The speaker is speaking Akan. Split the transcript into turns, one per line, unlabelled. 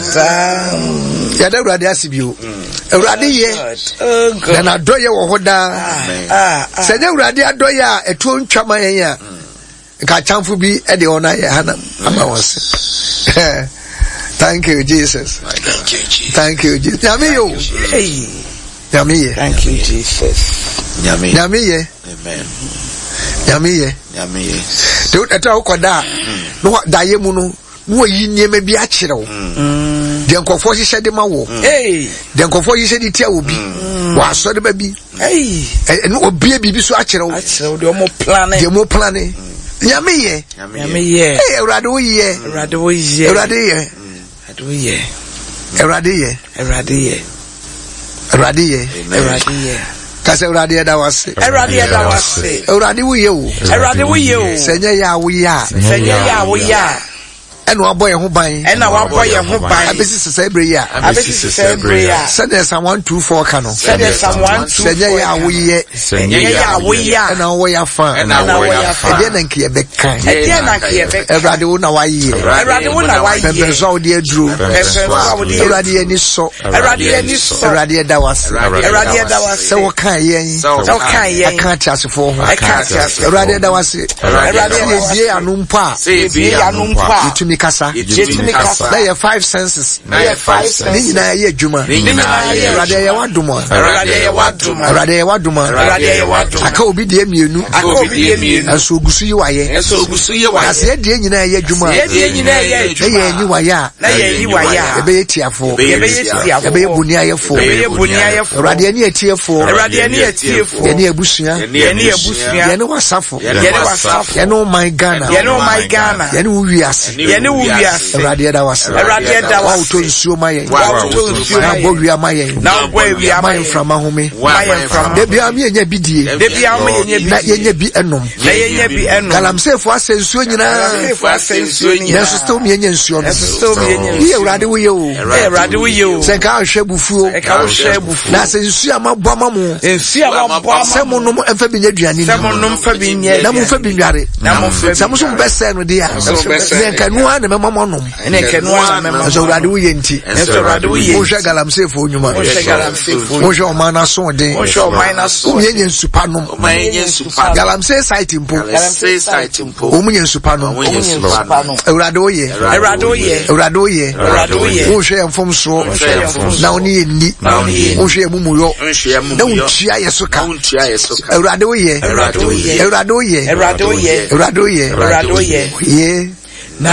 Saa.
Yɛda Awurade ase bio. Awurade yɛ
Oh,
na n'adɔyɛ wɔ hɔ daa.
Ah, ah.
Sɛ nyɛ Awurade adɔyɛ a ɛtuo ntwa ma yɛn a, nka atamfo bi de wɔn ayɛ hanam ama wɔn se. Thank you, Jesus.
Thank you, Jesus.
Thank you, Jesus. Nyame yɛ o.
Hey.
Nyame yɛ.
Thank you, Jesus.
Nyame.
Nyame yɛ.
Amen.
Nyame yɛ.
Nyame yɛ.
De ɛtɔ a wokɔ da a, na wa daeɛ mu no, na wayi nneɛma bi akyerɛ wo. Deɛ nkurɔfoɔ hyehyɛ de ma wɔ.
Hey.
Deɛ nkurɔfoɔ hyehyɛ de tia wɔ bi. Wɔ asɔre ba bi.
Hey.
Ɛno obie biribi so akyerɛ wo.
Akyerɛ wo deɛ ɔmo plane.
Deɛ mo plane. Nyame yɛ.
Nyame yɛ.
Hey, Awurade wo yɛ.
Awurade wo yɛ.
Awurade yɛ.
Awurade wo yɛ.
Awurade yɛ.
Awurade yɛ.
Awurade yɛ.
Awurade yɛ.
Kasa Awurade yɛda wo ase.
Awurade yɛda wo ase.
Awurade wo yɛ o.
Awurade wo yɛ o.
Sɛ nyɛ yɛ a wo yɛ a.
Sɛ nyɛ yɛ a wo yɛ a.
Ɛna wabɔ yɛn ho ban.
Ɛna wabɔ yɛn ho ban.
Abɛsi sesɛ bere yi a.
Abɛsi sesɛ bere yi a.
Sɛdeɛ Psalm 124 ka no.
Sɛdeɛ Psalm 124
Sɛ nyɛ yɛ a wo yɛ.
Sɛ nyɛ yɛ a wo yɛ a.
Ɛna wowɔ yɛ afa.
Ɛna wowɔ yɛ afa.
Ɛdeɛ na nka yɛbɛka.
Ɛdeɛ na nka yɛbɛka.
Awurade wo na wayɛ.
Awurade wo na wayɛ.
Pɛmpɛnso a wode aduro.
Pɛmpɛnso a wode aduro.
Awurade yɛn ani sɔ.
Awurade yɛn ani sɔ.
Awurade yɛda wo ase.
Awurade yɛda wo ase.
Sɛ wokaa yɛn.
Sɛ wokaa yɛn.
Ɛka ateasefoɔ ho.
Ɛka ateasefoɔ.
Awurade yɛda wo ase.
Awurade yɛda
Sɛ
wo ase.
yɛbie ano mpo a.
Sɛ yɛbie
Yɛbie ano mpo a.
Yɛtumi kasa.
Yɛtumi kasa.
Na yɛ five senses.
Na yɛ five senses.
Ne nyinaa yɛ adwuma.
Ne nyinaa yɛ
Awurade yɛ w'adom a.
Awurade yɛ w'adom a.
Awurade yɛ w'adom a.
Awurade yɛ w'adom a.
Aka obi deɛ mmienu.
Aka obi deɛ mmienu.
Nso ogu so yi wayɛ.
Nso ogu so yi wayɛ.
Na sɛ yɛdeɛ nyinaa yɛ adwuma a.
Yɛdeɛ nyinaa yɛ adwuma.
Na yɛn anyi wayɛ a.
Na yɛn anyi wayɛ a.
Yɛbɛyɛ tiafoɔ.
Yɛbɛyɛ tiafoɔ.
Yɛbɛyɛ boniayɛfoɔ.
Yɛbɛyɛ boniayɛfoɔ.
Awurade yɛne atiefoɔ.
Awurade yɛne atiefoɔ.
Yɛne abusua.
Yɛne abusua.
Yɛne w'asafo.
Yɛne w'asafo.
Yɛne wo man Ghana.
Yɛne wo man Ghana.
Yɛne wo wiase.
Yɛne wo wiase.
Awurade yɛda wo ase.
Awurade yɛda wo ase.
Wawotɔ nsuo ma yɛn.
Wawotɔ nsuo ma yɛn.
Na abɔ wia ma yɛn.
Na abɔ awia ma
yɛn.
yɛn
mframa home.
Ma yɛn mframa.
Da biara mi yɛnya bi die.
Da biara mi yɛnya bi die.
Na yɛnya bi ɛnom.
Na yɛnya bi ɛnom.
Galamseyfo asɛ nsuo nyinaa.
Galamseyfo asɛ nsuo nyinaa.
Nanso still mi yɛnya nsuo no.
Nanso still mi yɛnya nsuo.
Yɛ Awurade wo yɛ o.
Awurade wo yɛ o.
Sɛ nka ahwɛ bufuo.
Nka wohwɛ bufuo.
Na sɛ nsuo a mabɔ ama mo.
Nsuo a mabɔ ama mo.
Sɛ mo nom mfa bi nyɛ aduane ni.
Sɛ mo nom mfa bi nyɛ aduane.
Na mo mfa bi nware.
Na mo mfa bi.
Sɛ mo nso mo bɛsɛɛ no deɛ a. Ne nka ɛno ara na mɛma mo anom.
Ne nka ɛno ara na mɛma mo anom.
Nso Awurade wo yɛ nti.
Nso Awurade wo yɛ nti.
Monhwɛ galamseyfoɔ nnwuma.
Monhwɛ galamseyfoɔ.
Monhwɛ ɔman no asoɔden.
Monhwɛ ɔman no asoɔden.
Wɔn yɛ nsupa nom. Galamsey site mpo.
Galamsey site mpo.
Wɔn yɛ nsupa nom.
Wɔn yɛ nsupa nom.
Awurade wo yɛ.
Awurade wo yɛ.
Awurade wo yɛ.
Awurade wo yɛ.
Wonhwɛ yɛn mfomsoɔ.
Wonhwɛ yɛn mfomsoɔ.
Na wo ne yɛn nni.
Na wo ne yɛn nni.
Wonhwɛ yɛn mumuyɔ.
Wonhwɛ yɛn mumuyɔ.
Na wontua yɛ so ka.
Na wontua yɛ so ka.
Awurade wo yɛ.
Awurade wo yɛ.
Awurade wo yɛ.
Awurade wo yɛ.
Awurade wo yɛ.
Awurade wo yɛ.
Yɛ.